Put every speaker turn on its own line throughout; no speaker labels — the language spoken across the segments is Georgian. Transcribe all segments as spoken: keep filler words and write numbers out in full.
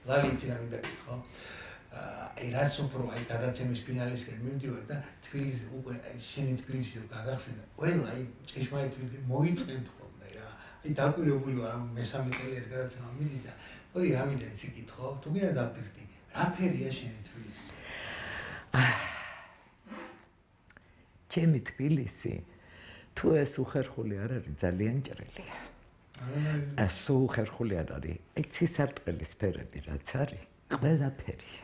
ლალი იცი რა მინდა გითხო აი რაც უფრო აი გადაცემის ფინალისკენ მივდივარ და თბილისი უკვე შენი თბილისი რო გაგახსენა ყველა აი ჭეშმარიტ მოიწყენთ ხოლმე რა აი დაკვირვებული ვარ ამ მესამე წელს გადაცემა მიდის და ორი რა მინდა იცი გითხო თუ მინდა დაფიქრდი რა ფერია შენი თბილისი ჩემი თბილისი თუ ეს უხერხული არ არის ძალიან ჭრელია ეს უხერხული არ არის აი ცისარტყელის ფერები რაც არის ყველაფერია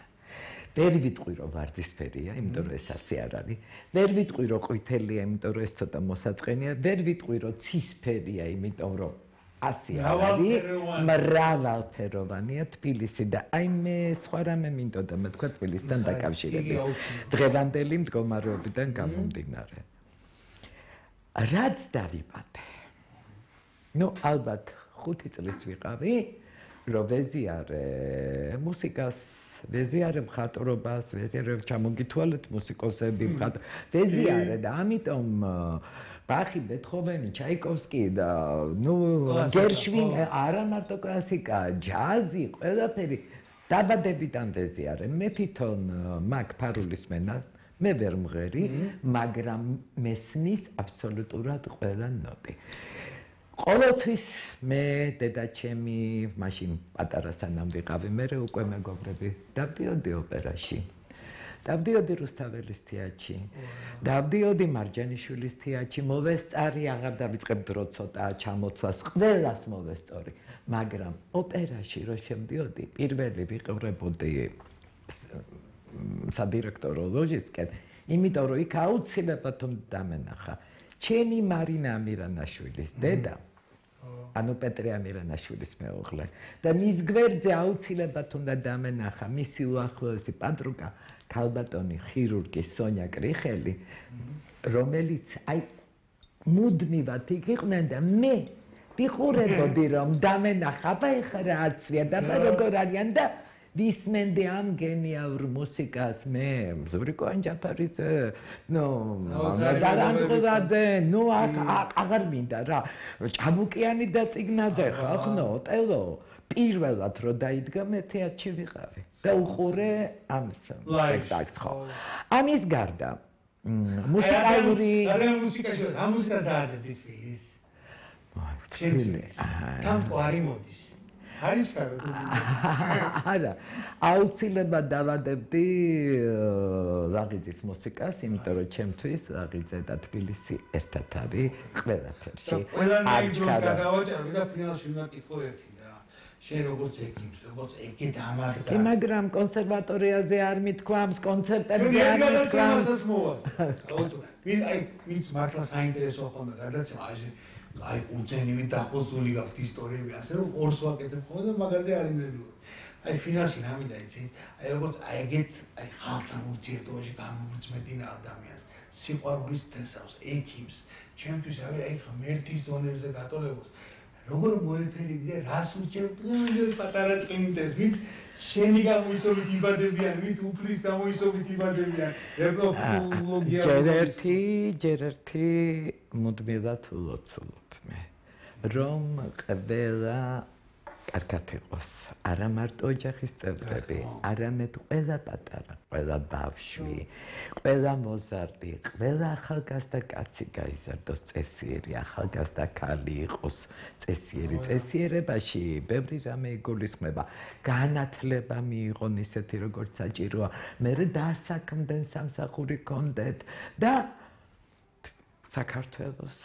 ვერ ვიტყვი რომ ვარდისფერია, იმიტომ რომ ეს ასე არ არის. ვერ ვიტყვი რომ ყვითელია, იმიტომ რომ ეს ცოტა მოსაწყენია. ვერ ვიტყვი რომ ცისფერია, იმიტომ რომ ასე არ არის. მრავალფეროვანია თბილისი და აი მე სხვა რამე მინდოდა მე თქვა თბილისთან დაკავშირებით. დღევანდელი მდგომარეობიდან გამომდინარე. რაც დავიბადე. ნუ ალბათ ხუთი წლის ვიყავი, რომ ვეზიარე მუსიკას ვეზიარე მხატვრობას, ვეზიარე ჩამოგითვალეთ მუსიკოსები მხატვრ. ვეზიარე და ამიტომ ბახი, ბეთჰოვენი, ჩაიკოვსკი და ნუ გერშვინ, არა მარტო კლასიკა, ჯაზი, ყველაფერი დაბადებიდან ვეზიარე. მე თვითონ მაგ ფარულის მენა მე ვერ მღერი, მაგრამ მესმის აბსოლუტურად ყველა ნოტი. ყოველთვის მე დედაჩემი მაშინ პატარა სანამ ვიყავი მე უკვე მეგობრები დავდიოდი ოპერაში დავდიოდი რუსთაველის თეატრში დავდიოდი მარჯანიშვილის თეატრში მოვესწარი აღარ დავიწყებ დრო ცოტა ჩამოცვას ყველას მოვესწორი მაგრამ ოპერაში რო შემდიოდი პირველი ვიყურებოდი სადირექტორო ლოჟისკენ იმიტომ რომ იქ აუცილებლად დამენახა ჩემი მარინა ამირანაშვილის დედა ანუ პეტრე ამირანაშვილის მეუღლე და მის გვერდზე აუცილებლად უნდა დამენახა მისი უახლოესი პატრუკა ქალბატონი ხირურგი სონია კრიხელი რომელიც აი მუდმივად იქ იყვნენ და მე ვიყურებოდი რომ დამენახა და ეხლა რა აცვია და როგორ არიან და ვისმენდი ამ გენიალურ მუსიკას მე ზურიკო ანჯაფარიძე ნუ დარანტყურაძე ნუ აღარ მინდა რა ჭაბუკიანი და წიგნაძე ხახნო ტელო პირველად რო დაიდგა მე თეატრში ვიყავი და უყურე ამ სპექტაკლს ხო ამის გარდა მუსიკალური რა მუსიკაში რა მუსიკას დაარდეთ თბილის თბილის კანტო არის მოდის არის კარგი.
არა, აუცილებლად დავადებდი ლაღიძის მუსიკას, იმიტომ რომ ჩემთვის ლაღიძე და თბილისი ერთად არის ყველაფერში.
ყველანაირ დროს გადავაჭრები და ფინალში უნდა კითხო ერთი რა. შენ როგორც ეკიპს, როგორც ეკეთ ამადგა.
მაგრამ კონსერვატორიაზე არ მithქვამს, კონცერტებზე არ მithქვამს.
ვინ აი ვინც მართლა საინტერესო ხომ გადაცემა აი აი უცენივი დახოსული გაქვთ ისტორიები ასე რომ ორს ვაკეთებ ხოლმე და მაგაზე არ იმედია. აი ფინალში რა მინდა იცი? აი როგორც აი ეგეთ აი ხალხთან ურთიერთობაში გამოვრცმედინა ადამიანს, სიყვარულის თესავს, ეკიპს, ჩემთვის აი აი ღმერთის დონეზე გატოლებას. როგორ მოეფერები და რას ურჩევ დღემდე პატარა წმინდებს, ვინც შენი გამოისობით იბადებიან, ვინც უფლის გამოისობით იბადებიან. რეპროდუქცია
ჯერ ერთი, ჯერ ერთი მუდმივად ვლოცულობ მე. რომ ყველა კარგად იყოს, არა მარტო ოჯახის წევრები, არამედ ყველა პატარა, ყველა ბავშვი, ყველა მოზარდი, ყველა ახალგაზრდა კაცი გაიზარდოს წესიერი, ახალგაზრდა ქალი იყოს წესიერი, წესიერებაში ბევრი რამე იგულისხმება, განათლება მიიღონ ისეთი როგორც საჭიროა, მერე დაასაქმდნენ სამსახური კონდეთ და საქართველოს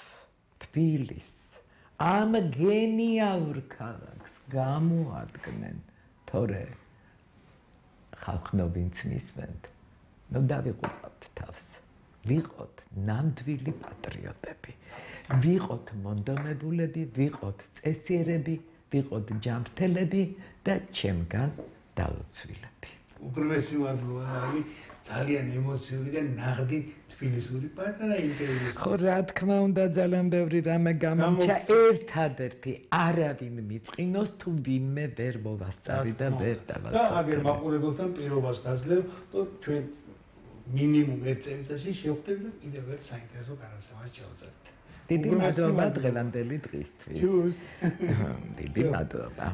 თბილისს ამ გენიალურ ქალაქს გამოადგნენ თორე ხალხნობინც მისმენთ ნუ დავიყურებთ თავს ვიყოთ ნამდვილი პატრიოტები ვიყოთ მონდომებულები ვიყოთ წესიერები ვიყოთ ჯანმრთელები და ჩემგან დაუცვილები
უგრმესი მადლობა არის ძალიან ემოციური და ნაღდი თბილისური პატარა ინტერვიუ.
ხო რა თქმა უნდა ძალიან ბევრი რამე გამომჩა ერთადერთი არავინ მიწყინოს თუ ვინმე ვერ მოვასწარი და ვერ დავასწარი.
და აგერ მაყურებელთან პირობას გაძლევ და ჩვენ მინიმუმ ერთ წელიწადში შევხვდებით და კიდევ ერთ საინტერესო განაცემას შევძლებთ.
დიდი მადლობა დღევანდელი დღისთვის.
ჩუს.
დიდი მადლობა.